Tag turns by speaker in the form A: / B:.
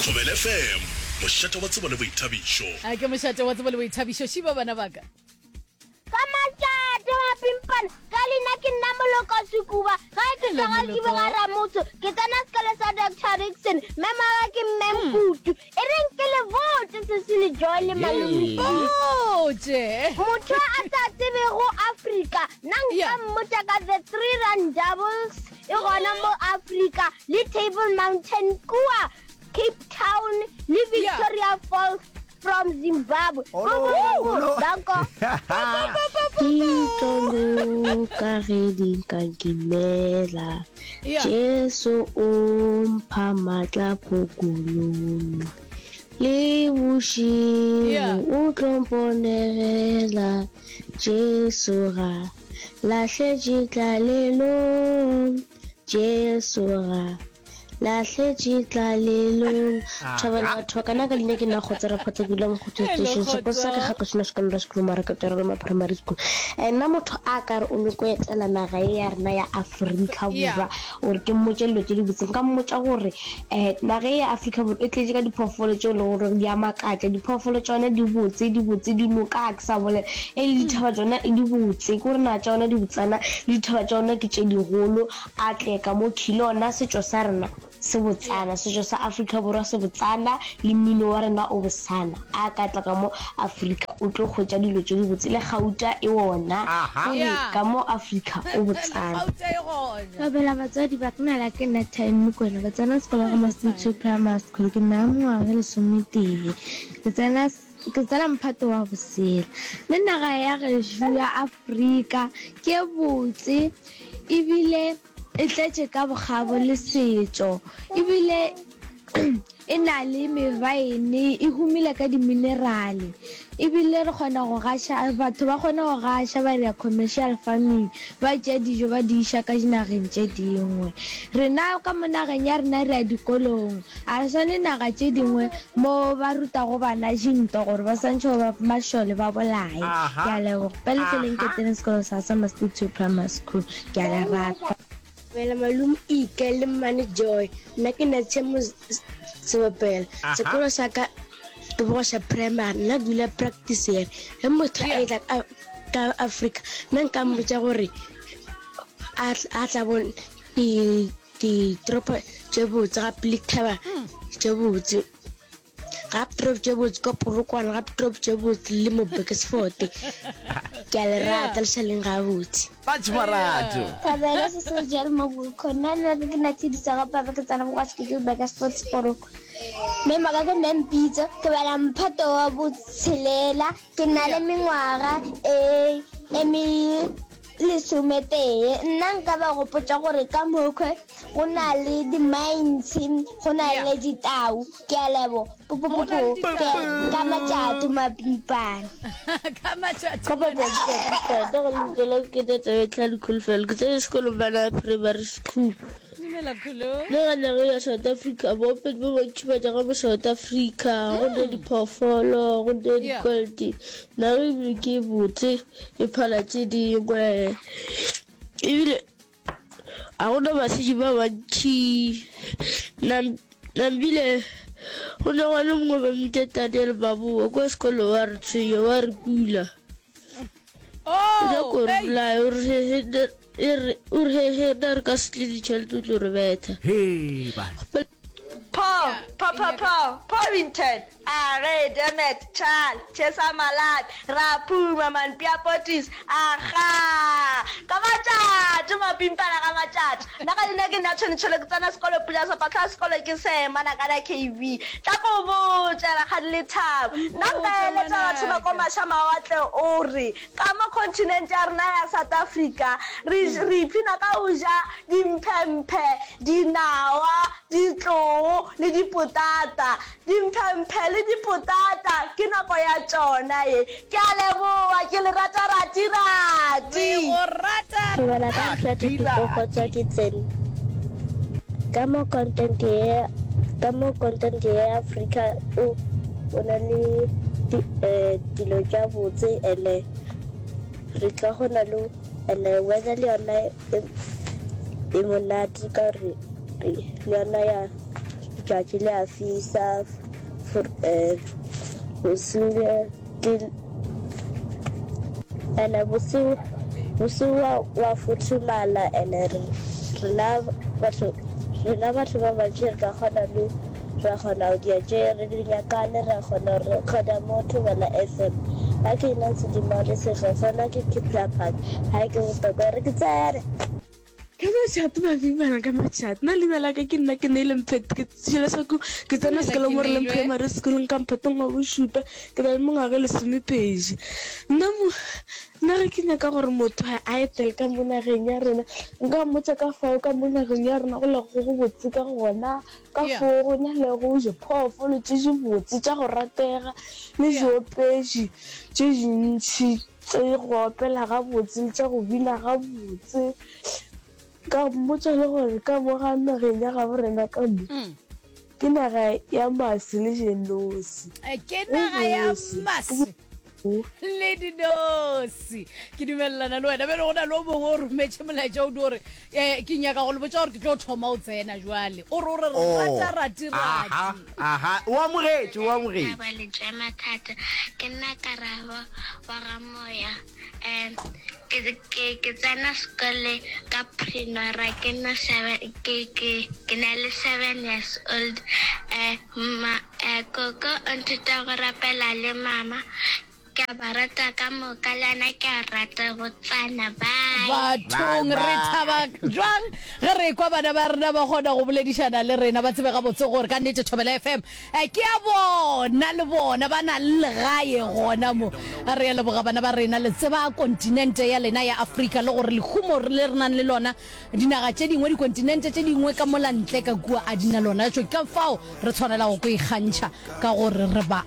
A: Thobela FM, mošate wa tsebo le boithabišo.
B: A ke mošate wa tsebo le boithabišo. Šiba bana ba ka.
C: Ka matšatši mapimpana, ka leina ke nna Moloko Sekuba, gae ke tšwa ga Kibe ga Ramotse, ke tsena sekolo sa Doctor Rickson, mme mmaga ke Mme Nkutu. E reng ke le botše Sesi le Joy le Malome Steve.
B: Botše.
C: Motho a sa tsebego Afrika, nna nka
B: Yeah.
C: mmotša ka the Three Rondavels e gona mo Afrika, le Table Mountain kua Cape Town, le
B: Yeah.
C: Victoria Falls From Zimbabwe.
D: Olo, olo.
C: Danko.
E: Di tlo loka ge di nka nkimela.
B: Yeah.
E: Jesu o mpha matla phokolong. Le bošego
B: Yeah.
E: o tlo mponegela. Jesu ga lahletše tlalelong. Jesu ga Lahletše tlalelong. Thobela batho ba ka nna ka leina ke nna Kgotsa Rakgotsa ke dula Mokgotho Station sekolo sa ka ga ke sona secondary school mara ke tswela ma primary school. Eh, nna motho a ka re o nyoko etela naga ye ya rena ya Afrika Borwa gore ke mmotše dilo tše dibotse nka mmotša gore eh naga ye ya Afrika Borwa e tletše ka diphoofolo tšeo e lego gore di a makatša. Diphoofolo tša yona di botse, di botse, dinoka ga ke sa bolela e le dithaba tšona di botse, ke gore naga tša yona di botsana le dithaba tša yona ke tše digolo. A tle ka mo khi. Le ona setšo sa rena se botsana, setšo sa Afrika Borwa se botsana, le mmino wa rena o bosana. A ka tla ka mo Afrika, o tlo hwetša dilo tše dibotse, le gauta e ona. O re ka mo Afrika o botsana.
F: Thobela batswadi ba ka nala ke nna Time Mokwena ke tsena sekolo ga Masuthu Primary School ke na le mengwaga e lesometee ke tsena ke tsena mphato wa bosela le naga ya gešo ya Afrika ke botse Ebile e tletše ka bokgabo le setšo. Ebile e na le mebaene, e humile ka diminerale. Ebile re kgona go gaša, batho ba kgona go gaša ba dira commercial farming, ba tšea dijo ba di iša ka dinageng tše dingwe. Rena ka mo nageng ya rena re ya dikolong, A re swane naga tše dingwe mo ba rutago bana dintwa gore ba swantšhe go ba mašole ba bolaye. Ke a leboga. Pele tleleng ke tsene sekolo sa Summer State Primary School. Ke a le rata.
E: Dumela malome Ike le mmane Joy. Nna ke Natshemo Sebopela. Sekolo sa ka ke Bogosha Primary. Nna ke dula Practice. Ge motho a etla ka Afrika, nna nka mmotša gore a tla bone Ditoropo tše botse gape le dithaba tše botse. Gape toropo tše botse kwa Polokwane, gape toropo tše botse le mo Burgersfort. Ke a le rata, le šaleng gabotse.
D: Batho marato.
C: Thabela se se jalo mo Bulcon. Nna nna ke na tshedisa ga papa ke tsena kwa ke Burgersfort sekolong. Mme maka ke mme mpitso ke bala mphato wa botshelela ke na le mengwaga e e me Lesometee. Nna nka ba gopotša gore ka mokhwe go na le di-mines, go na le ditau. Ke a lebo. Pupupupu. Ke ka matšato mapimpana.
B: Ka matšato.
E: Ka matšatši a ke go lokela ke tse tla dikholofelo ke tsene sekolo bana primary school.
B: Dumela Kholo.
E: Le ga naga ya South Africa baopedi ba bantši ba tša ka mo South Africa go ne diphoofolo go ne di-gold naga ebile ke e botse e phala tše dingwe ebile ga gona basenyi ba bantši nambile go ne gwa le mongwe ba mmitša Daniel Mabowa kwa sekolo wa re tshwenya wa re kula.
B: Oh,
E: O nyaka go re
B: hey.
E: bolaya, o re he he nna- e re o re he he nna re ka se tle ditšhelete o tlo re betha.
D: Hee bana.
G: Paul, pa pa pa, Paulington, Arre, dammit, Charl, Chesa Malapi, Ra phuma man, Piapotis, Agaa! Ka matšatši, mapimpana ka matšatši. Nna ka leina ke nna Tshwene Tshwele, ke tsena sekolo Pula Sepatlha sekolo ke Sema Nakana KV. Tla ko botše, Rakgadi Lethabo. Nna nka eletša batho ba ko maša-mawatle o re, ka mo continent ya rena ya South Africa, re, re ipshina ka go ja dimphemphe, dinawa, ditloo le dipotata. Dimphemphe le dipotata ke nako ya tšona ye. Ke a leboga, ke le rata rati rati.
B: Re go rata
E: Ke bala ka ntho ya topic go tswa ke tsene ka mo content ye ka mo content ye ya Africa o o na le eh, dilo tša botse ene re tla kgona le ene weather le yona e, e monate ka gore le yona ya. Letšatši le a fisa, bosigo ke ene bosigo bosigo wa wa futhumala ene re rena batho rena batho ba bantši re ka kgona le ra kgona go dia tše re di nyakang ra kgona go recorda mo Thobela FM. Ga ke nna Sedimore Sehlohlolo ke Kipla Park ga ke bohlokwa re ke tsene.
F: Ka matšato mabimana ka matšato nna leina la ka ke nna ke neile mphet ke tšhela sako ke tsena sekolo mo re leng primary school ka mphatong wa bošupa ke na le mengwaga e lesomepedi nna mo nna ge ke nyaka gore motho a etele ka mo nageng ya rena nka mmotša ka fao ka mo nageng ya rena go lego go botse ka gona ka foo go na lego diphoofolo tše dibotse tša go ratega le diopedi tše dintši Tše go opela gabotse le tša go bina gabotse. Ka mmotša le gore ka mo ga nageng ya gabo rena ka mo, ke naga ya mase le dinosi.
B: Ke naga ya mase le dinosi. Ke dumelelana le wena. Bjale go na le o mongwe o rometše molaetša o di gore um ke nyaka go le botša gore ke tlo thoma o tsena jwale. O re o re re rata rati rati.
D: Aha, o amogetše, o amogetše.
H: Thaba le tša mathata. Ke nna Karabo wa ga Moya. Um ke ke ke tsena sekole ka Prinora ke na seven ke ke ke na le seven years old. Um ma eh, koko o nthuta go rapela le mama. Ke a ba rata ka moka le wena ke a rata botsana bye.
B: Bathong re thaba jwang ge re ekwa bana ba rena ba kgona go boledišana le rena ba tsebe gabotse gore ka nnete Thobela FM eh, ke ya bona le bona ba na le legae gona mo. Re a leboga bana ba rena le tseba kontinente ya lena ya Afrika le gore lehumo le re nang le lona dinaga tše dingwe dikontinente tše dingwe ka mola ntle ka kua a di na lona. Tšo ke ka fao re tshwanelago go ikgantšha ka gore re ba.